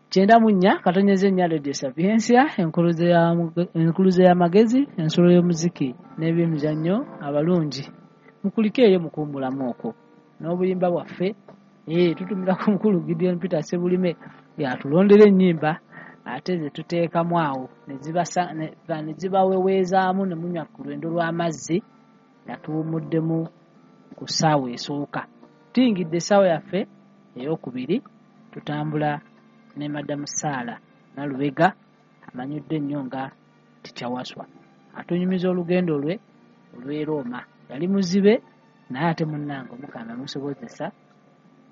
94.4 Radio Sapientia, enkuluze y'amagezi, ensulo y'omuziki n'ebyemizannyo. Abalungi mukulike eyo mukuwummulamu okwo n'obuyimba bwaffe. Tutumira ku mukulu Gideon Peter Sebulime yatulondera ennyimba ate ze tuteekamu awo ne zibaweweezaamu ne munywa ku lwendo lw'amazzi nga tuwummuddemu ku ssaawa esooka. Tuyingidde essaawa yaffe ey'okubiri, tutambula ne Madamu Saala Nalubega amanyiddwa ennyo nga Teacher Waswa, atunyumiza olugendo lwe olw'e Rooma. Yali muzibe naye ate munnange Omukama yamusobozesa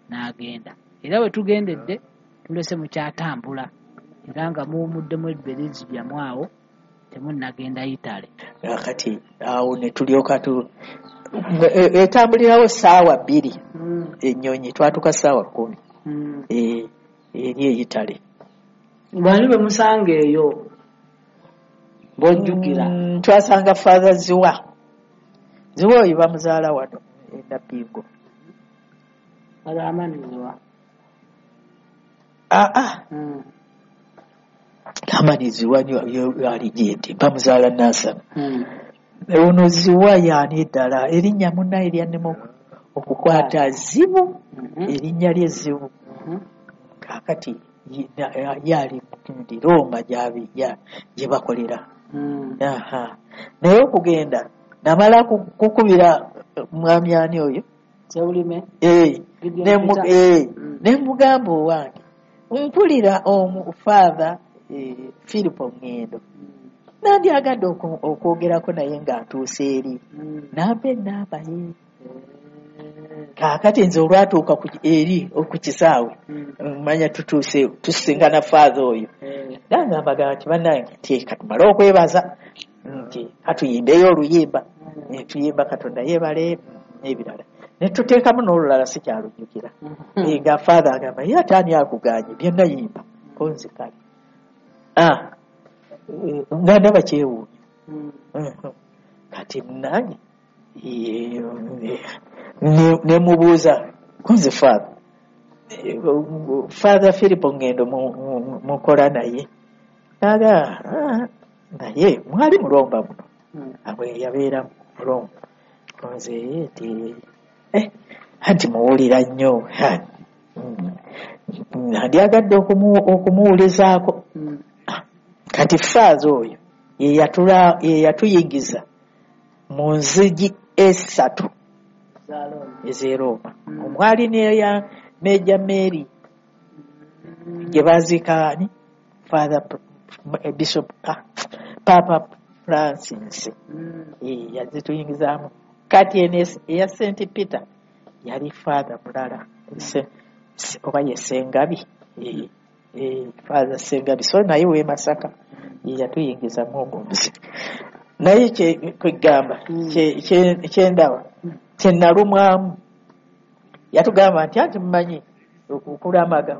n'agenda, era we tugendedde tulese mukyatambula era nga muwummuddemu ebiberizi byammwe awo temunnagenda Italy. Kati awo ne tulyoka etambulirawo 2:00 ennyonyi, twatuuka 10:00 eri e Italy. Bani bwe musanga eyo b'ojjukira? Twasanga Father Ziwa. Ziwa oyo bamuzaala wano e Nabbingo. Father Amani Ziwa? Aa, Amani Ziwa ali gyendi, bamuzaala Nansana. Ono Ziwa yaani ddala erinnya munnaye lyannema okukwata, zibu, erinnya lye zibu. Kaakati yali ndi Roma gye bakolera. Naye okugenda namala kukubira mwami ani oyo? Sebulime. Ne mugamba, "Owange, mpulira omu Father Philipo Ngendo, nandyagadde okwogerako naye ng'atuuse eri." Nampa ennamba ye. Kaakati nze olwatuuka eri ku kisaawe, manya tutuuse tusisinkana Father oyo, nangamba nti, "Bannange," nti, "katumale okwebaza," nti, "katuyimbeyo oluyimba." Ne tuyimba Katonda yeebale n'ebirala, ne tuteekamu n'olulala sikyalujjukira. Nga Father agamba, "Ye ate ani akuganye byonna yimba?" Ko nze kale nga ndaba kyewuunyo. Kati nange ne mubuuza, "Kunze Father, Father Philipo Ngendo mukola naye?" Naga, "Ah, naye mwali mulomba muno." Abwe yabeera mulomba. Nze nti, "Anti muwulira nnyo, ndyagadde okumuwulizaako." Kati Father oyo ye yatuyingiza mu nzigi 3 ez'e Rooma, omwali n'eya Major Mary gye baziika ani, Father Bishop, Papa Francis. Yazituyingizaamu. Kati eno eya St Peter yali Father mulala, oba ye Sengabi, Father Sengabi, so naye w'e Masaka, ye yatuyingizamu ogwo omuziki. Naye kwegamba kyendaba kyenalumwamu, yatugamba nti, "Anti mumanyi okulamaga